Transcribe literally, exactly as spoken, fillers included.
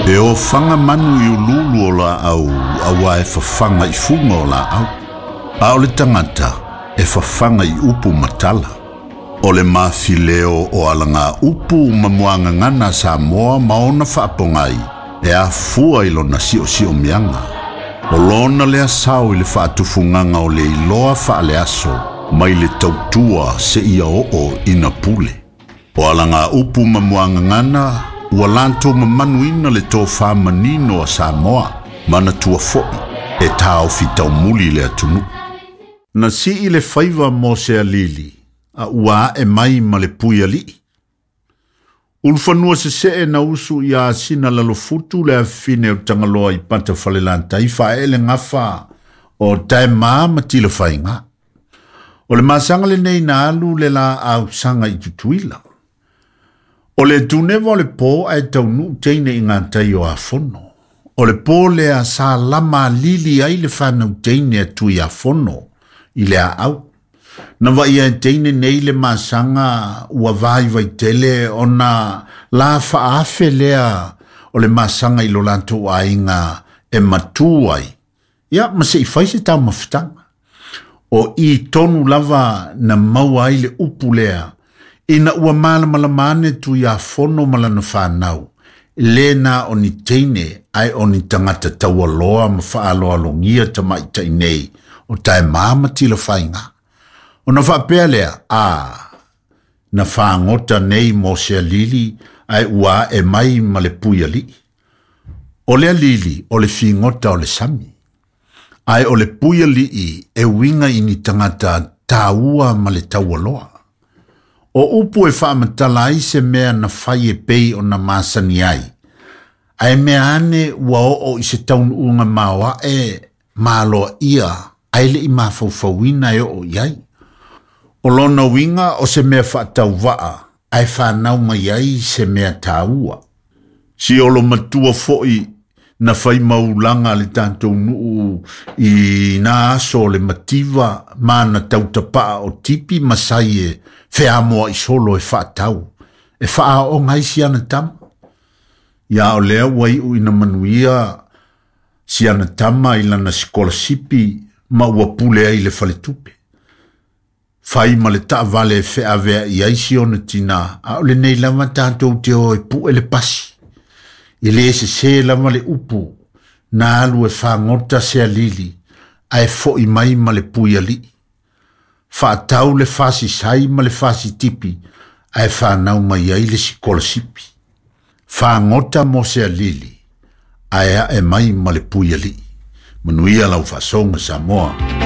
E ofaga manu i ululu o laau auā e fafaga i fuga o laau. A o le tagata e fafaga i upu ma tala. O le mafileo o alaga upu ma muagagana Samoa ma ona faapogai e afua i lona siosiomiaga. O lona lea sao i le faatufugaga o le iloa faaleaso mai le tautua seia oo ina pule. O alaga upu ma muagagana ua latou mamanuina le tofā manino a Samoa manatua fo'i e taofi taumuli le atunuu. Na sii le faiva mo se alili a ua ae mai ma le pui alii. Ulufanua sesee na usu ia asina lalofutu le afine o Tagaloa i pata falelantai faaele gafa o taemā ma tilafaiga. O le masaga lenei na alu le laausaga i Tutuila. O le tuneva o le pō ae taunuu teine i gatai o Afono. O le pō lea sa lama lili ai le fanau teine a tui Afono i le aau. Na vaia e teine nei le masaga ua vaivaitele ona la faafe lea o le masaga i lo latou aiga e matū ai. Ia ma se i fai se taumafataga. O i tonu lava na maua ai le upu lea ina ua malamalama ane tui Afono ma lana fanau. Le na o ni teine ae o ni tagata taualoa ma faaloalogia tamaitai nei o taemā ma tilafaiga. Ona faapea lea, a, na fagota nei mo se alili ae ua ae mai ma le pui alii. O le alili o le figota o le sami. Ae o le pui alii e uiga i ni tagata tāua ma le taualoa. O upu e faamatala ai se mea na fai e pei ona masani ai. Ae mea ane ua oo i se taunuuga maoae maloaia ae le'i mafaufauina e oo i ai. O lona uiga o se mea faatauvaa ae fanau mai ai se mea tāua. Si olo matua fo'i na fai maulaga le tatou nuu i nā aso o le mativa ma na tautapaa o tipi ma sai e feamoa i solo e faatau. E faaooga ai siana tama. Ia o lea ua iu ina manuia siana tama i lana sikolasipi ma ua pule ai le faletupe. Fai ma le taavale e feavea i ai si ona tinā, a o lenei lava tatou te o e pu'e le pasi. E lē sesē lava le upu na alu e fagota se alili ae fo'i mai ma le pui alii. Faatau le fasisai ma le fasitipi ae fanau mai ai le sikolasipi. Fagota mo se alili ae ae mai ma le pui alii. Manuia lau faasoga Samoa.